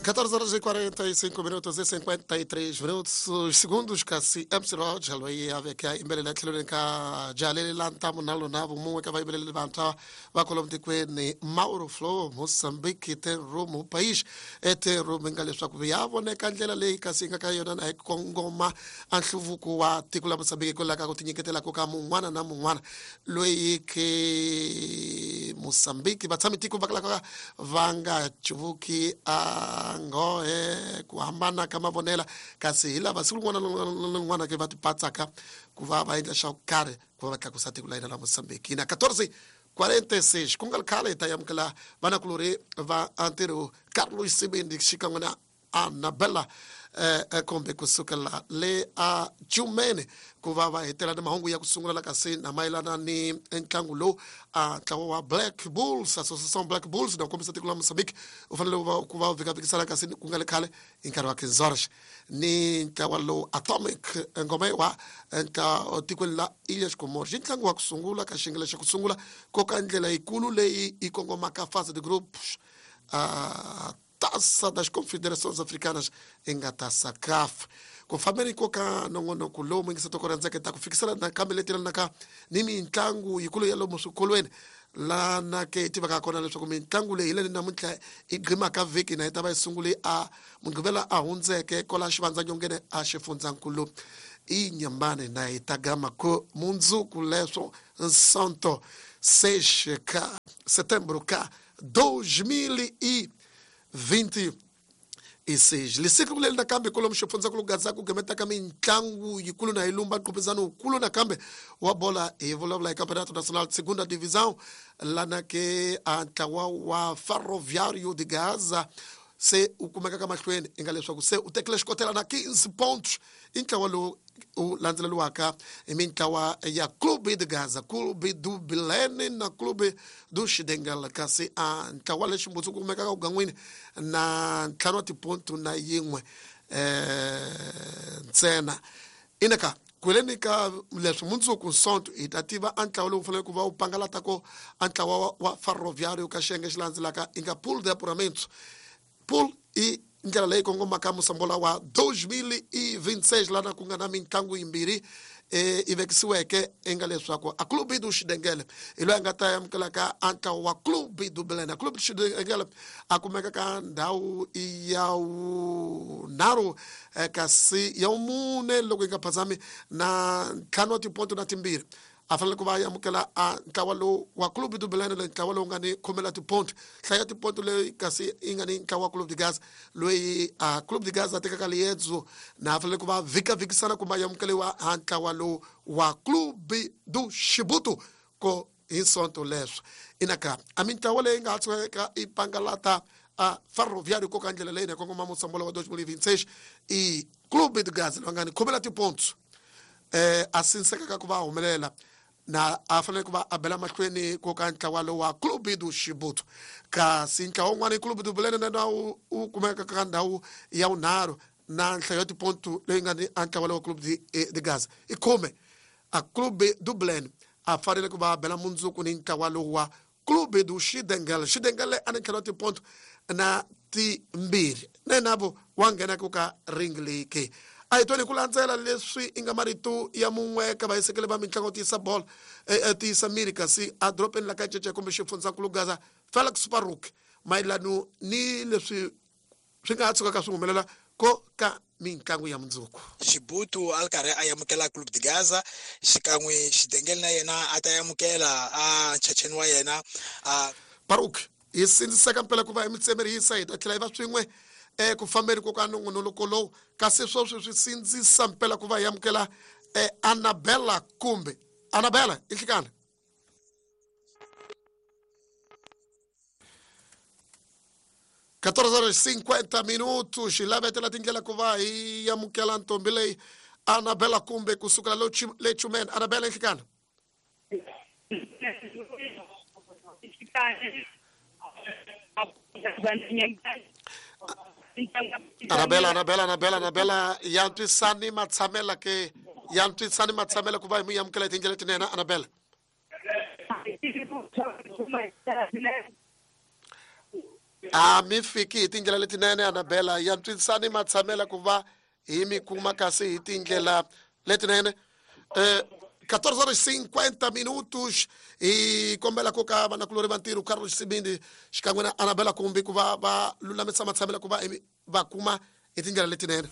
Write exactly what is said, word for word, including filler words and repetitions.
catorze horas e quarenta e cinco minutos e cinquenta e três minutos, os segundos kasi M C Roger loyi a veka imbelela tlhelweni ka jalele la ntamu na lona vumumwe ka vayimbeleri vantshwa va kwalomu tikweni Mauro Flow Mozambique ten room país e ten room nga leswaku ya voneka ndlela leyi kasi yi nga ka yona na hi kongoma a nhluvuko wa tiko la Mozambique kwalaho ka ku tinyiketela ka mun'wana na mun'wana loyi ke Mozambique vatshami tiko va kalaka va nga cuvuki a ngohe ku hambana ka mavonela kasi hi lava siku rin'wana na rin'wana ke va tipatsaka ku va va endla xa ku karhi ku va va tlakusa tiko la hina la Mozambique. Na catorze quarenta e seis ku nga ri khale hi ta amukela vanakulorhi va ntirho Carlos Sibindi xikan'we na Anabella eh kumbe kusukela le a Jumene ku va va hetela na mahungu ya ku sungula la kasi na mayelana ni ntlangu lowu a ntlawa wa Black Bulls, Association Black Bulls na kombisa tiko la Mozambique u fanele ku va ku va vhikavhikisana kasi ku nga le khale hi nkarhi wa quinze ni ntlawa lowu Atomic Ngome wa ntla tikweni la Ilhas Comores. Ntlangu wa ku sungula ka xiyenge xa ku sungula ko ka ndlela yikulu leyi yi kongomaka fase de grupos a Taça das Confederações Africanas em a Taça C A F. Ku fambeni ko ka nongonoko lowu muyingisa toko rhandzeke ta ku fikisela nakambe leti lanaka ni mitlangu yikulu ya lomu swikolweni lana ke hi tivaka kona leswaku mitlangu leyi hi leyi namuntlha yi gqimaka vhiki na yi ta va yi sungule a Mugqivela a hundzeke kwala xivandzanyongeni a xifundzankulu i Nyambane na yi ta gama ku mundzuku leswo Sonto seis ka setembro ka dois mil e vinte e seis. Lisiku leri nakambe kwalomu xifundzankulu Gaza ku gqemetaka mitlangu yikulu na yi lumba nqopizano wukulu nakambe wa bola hi vulavula hi Campeonato Nacional de Segunda Divisão lana ke a ntlawa wa Ferroviário de Gaza se u kumeka ka mahlweni i nga leswaku se u tekile xikotela na quinze pontos i ntlawa lowu u landzeleriwaka hi mintlawa ya Clube de Gaza, Clube do Bilene na Clube do Xidengela kasi a ntlawa lexi mbutsu ku kumekaka kugan'wini na ntlhanu wa tiponto na yin'we eh ntsena. Inaka kweleni ka leswi mundzuku Sonto hi ta tiva a ntlawa lowu faneleke ku va wu pangalata ko a ntlawa wa Ferroviário ka xiyenge xi landzelaka i nga pool de apuramento. Pool i ndlela leyi kongomaka musambola wa dois mil e vinte e seis lana ku nga na mitlangu yimbirhi eh i vekisiweke i nga leswaku a Clube do Xidengele hi loyi a nga ta amukelaka a ntlawa wa Clube do Belena. Clube do Xidengele a kumeka ka ndhawu ya vunharhu kasi ya vumune loko yi nga phazami na ntlhanu wa tiponto na timbirhi a fanele ku va amukela a ntlawa lowu wa Clube do Belena loyi ntlawa lowu nga ni khume la tiponto hlaya tiponto leyi kasi yi nga ni ntlawa wa Clube de Gaza loyi a Clube de Gaza a tekaka liendzo na a fanele ku va vhikavhikisana kumbe a amukeliwa a ntlawa lowu wa Clube do Chibuto ko hi Sonto leswo. Inaka a mintlawa leyi nga ha tshukaka yi pangalata a Ferroviário ko ka ndlela leyi na kongoma musambola wa dois mil e vinte e seis i Clube de Gaza loyi nga ni khume la tiponto eh a sinsekaka ku va humelela na a fanele ku va a bela mahlweni ko ka ntlawa lowu wa Clube do Chibuto kasi ntlawa wun'wana i Clube do Belena na wu wu kumeka ka ndhawu ya vunharhu na nhlayo ya tiponto leyi nga ni a ntlawa lowu wa Clube de, de Gaza i khume. A Clube do Belena a fanele ku va a bela mundzuku ni ntlawa lowu wa Clube do Xidengele. Xidengele a ni ntlhelo wa tiponto na timbirhi na yena vo wa nghena ku ka ring leyi ke. A hi twani ku landzela leswi i nga marito ya mun'we ka vayisekeli va mitlangu tiyisa bolo tiyisa miri kasi a dorobeni la ka Cece kumbe xifundzankulu Gaza Felix Paruk mayelano ni leswi swi nga ha tshukaka swi humelela ko ka mitlangu ya mundzuku. Chibuto a ri karhi a amukela Clube de Gaza xikan'we Xidengele na yena a ta amukela a nchacheni wa yena a Paruk hi sindziseka mpela ku va hi mitsemerisa hi ta tlhela hi va swin'we eh ku fambeni ko ka nongonoko lowu kasi sweswi swi sindzisa mpela ku va hi amukela eh Anabella kumbe Anabella i nhlikana catorze horas e cinquenta minutos xi lavetela tindlela ku va hi amukela ntombi leyi Anabella kumbe kusukela le Chumene. Anabella i nhlikana. Anabella, Anabella, Anabella, Anabella, ya ntwisani matshamela ke ya ntwisani matshamela ku va hi mu amukela hi tindlela tinene Anabella. A mi fiki hi tindlela letinene Anabela ya ntswisani matshamela ku va hi mi kuma kasi hi tindlela letinene. Eh quatorze horas e cinquenta minutos hi kombela ku ka vanakulori va ntirho Carlos Sibindi xikan'we na Anabela Kumbi ku va va lulamisa matshamela ku va va kuma hi tindlela letinene.